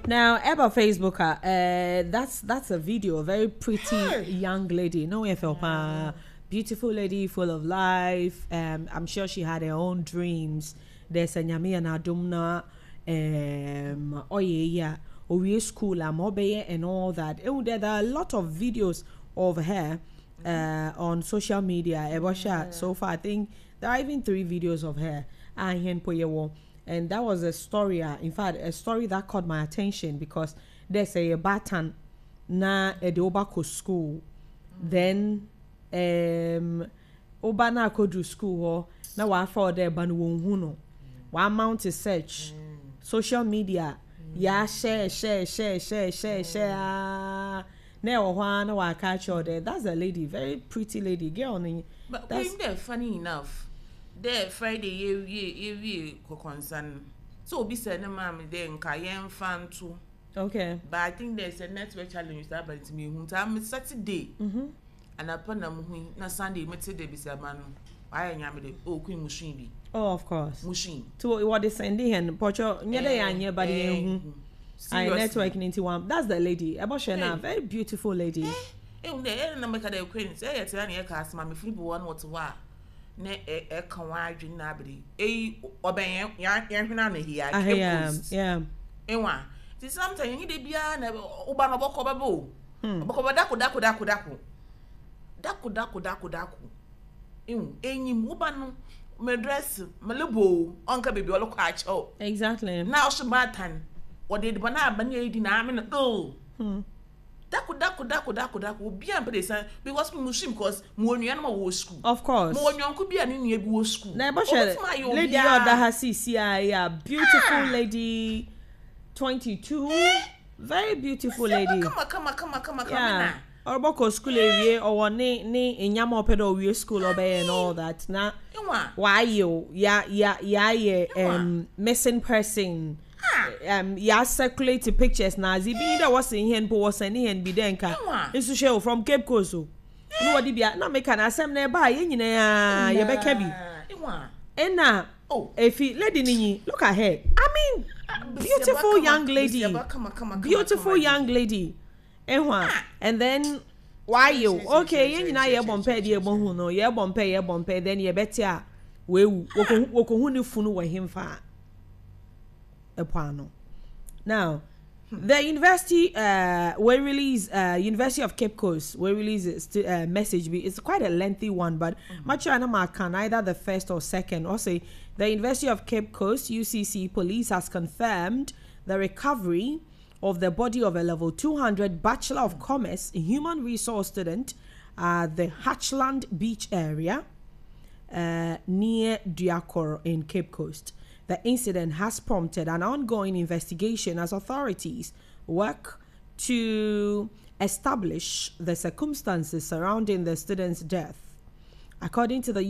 Now, about Facebook, that's a video, a very pretty young lady. No, if beautiful lady, full of life. I'm sure she had her own dreams. There's a Nyame and adom na, oh yeah, owie school, I'm and all that. There are a lot of videos of her on social media. Yeah. So far, I think there are even three videos of her. And that was a story, in fact, a story that caught my attention because there's a batan na ɛde woba kɔ school, then woba na akɔduru school hɔ na wafa ɔdɛ ba no wɔn hu no, wa mount search social media, ya share, share, share, share, share, share ah, na ɛwɔ hɔ a na waka akyerɛ ɔdɛ that's a lady, very pretty lady, girl no. But when funny enough, there Friday yɛwie kɔkɔnsa no so obi sɛ ne maame dɛ nka yɛmfa nto. But I think there's a network challenge that, but me hu nti Saturday anapa na mu hu na Sunday mete de bisa ma no wayɛ nyame de, oh Queen, musui bi. Oh, of course. Musui. To what they sending hɛn pɔtɔ nyɛ dɛ yɛanyɛ, but yɛn hu ayi network ni nti one, that's the lady ɛbɔ hwɛ na very beautiful lady. Eh, eh, eh, na meka dɛ Queen sɛ ɛyɛ tena ne yɛ ka asɛm a mefiri bi wɔ no wɔte hɔ a na ɛka wɔn adwene na abere eyi ɔbɛn yɛn yɛn hwene ano hi a Cape Coast. Ewa ti sometimes yɛn de biara na ɔba na ɔbɛkɔ bɛbɛ o, ɔbɛkɔ bɛ dako dako dako dako dako dako dako dako ehu enyim woba no mɛ dress mɛ lebo ɔnka beebi ɔlɔkɔ akyɛw. Na ɔso baatan wɔde ediban aba ne yɛ di na ame no oh dako dako dako dako dako obi a mpɛ de san because mo sui because mo onua no ma wɔ school. Of course. Mo wɔ nyɔnko bi a ne nua bi wɔ school. Na ɛbɔ hwɛ lady a ɔda ha sisi a yɛ beautiful lady, 22, very beautiful lady. Kama kama kama kama kama na. Ɔrebɔkɔ school ewie, ɔwɔ ne nyama ɔpɛ dɛ ɔwie school ɔbɛyɛ and all that na wayɛ o ya ya yɛayɛ missing person, ya circulate pictures na adze bi ni dɛ wɔsi hɛn po wɔsɛn hɛn bi dɛ nka nso hwɛ o, from Cape Coast o ne wɔde bia na meka na asɛm na ɛba a yɛn nyinaa yɛbɛka bi ɛna efi lady ni nyi. Look at her, I mean, beautiful young lady, beautiful young lady ɛho a, and then wayɛ o, okay, yɛn nyinaa yɛbɔ mpɛ de yɛbɔ hu no, yɛbɔ mpɛ, yɛbɔ mpɛ, then yɛbɛte a wewu, wɔkɔhu ne funu wɔ hemfa ɛpo ano. Now the university we release, University of Cape Coast we release a message. It's quite a lengthy one, but much I can either the first or second. Also, the University of Cape Coast UCC Police has confirmed the recovery of the body of a level 200 Bachelor of Commerce Human Resource student at the Hatchland Beach area near Duakor in Cape Coast. The incident has prompted an ongoing investigation as authorities work to establish the circumstances surrounding the student's death. According to the